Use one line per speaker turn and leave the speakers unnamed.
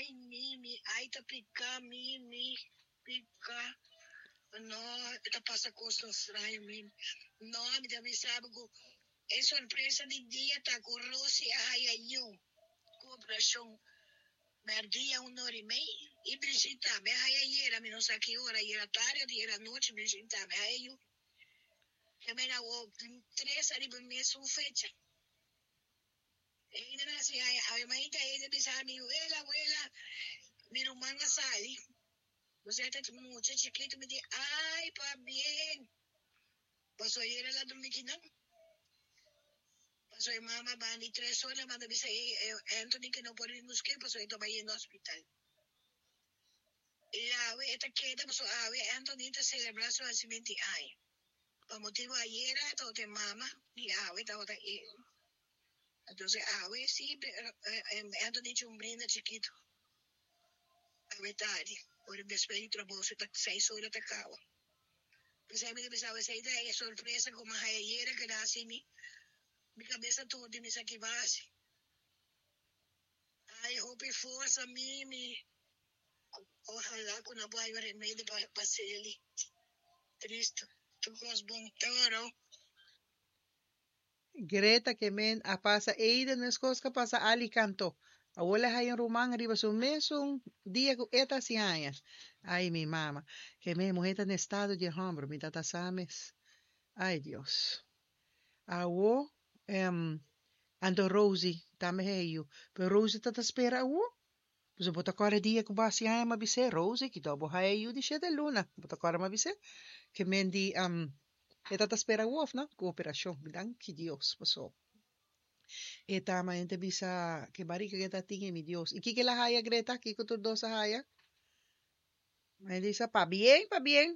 Ai Mimi, ai ta pica Mimi, pica. No, e ta pasa cosnan straño Mimi. No, mi ta bisa bo cu e sorpresa di dia ta cu Rosy a haya yu cu operacion merdia un ora y mei y Brigitte tambe a haya ayera, mi no sa ki ora, ayera tardi of ayera anochi Brigitte tambe a haya yu. Ke mena awor tin tres ariba mesun fecha. Eida na hasi ay awe mainta Eida bisa mi wela wela mi ruman a sali bo sa ta mucha chikitu mi di ay pabien paso ayera la drumi kinan paso e mama bandi tres ora manda bisa Anthony ke no por bin buske paso e ta bai yendo hospital y awe e ta keda paso awe Anthony ta celebra su hacimentu di aña. Pa motibu ayera tabata e mama y awe tabata e. Entonces awe si Anthony hecho un brinda chikito awe tardi ora despues di trabou su ta seis ora ta caba. P'esei mi ta bisa awe esei ta e sorpresa cu mi a haya ayera keda haci mi mi cabeza tur di mi sa ki basi. Ay hopi forsa Mimi. Ojalá cu no por haya remedio pa Celi. Tristo. Tur cos bon. Toro.
Greta ke men a pasa Eiden meskos ku a pasa Ali Kanto. Awor el a haya un ruman riba su mesun dia ku e ta hasi aña. Ay mi mama. Ke men muhé ta na estado di e hòmber mi ta ta sa mes. Ay Dios. Awo anto Rosie tambe haya yu. Pero Rosie ta ta spera awo. Pasobra bo ta kòrda dia ku bo hasi aña m'a bis'é, Rosie, ki dor bo haya yu di shete luna? Bo ta kòrda m'a bis'é? Ke men di, E ta ta spera awo òf no? Ku operashon. Danki Dios paso e ta ama hende bisa ke barika ke ta tin e mi Dios. I kiko el a haya Greta? Kiko tur dos a haya? Hende bisa, Pabien, pabien.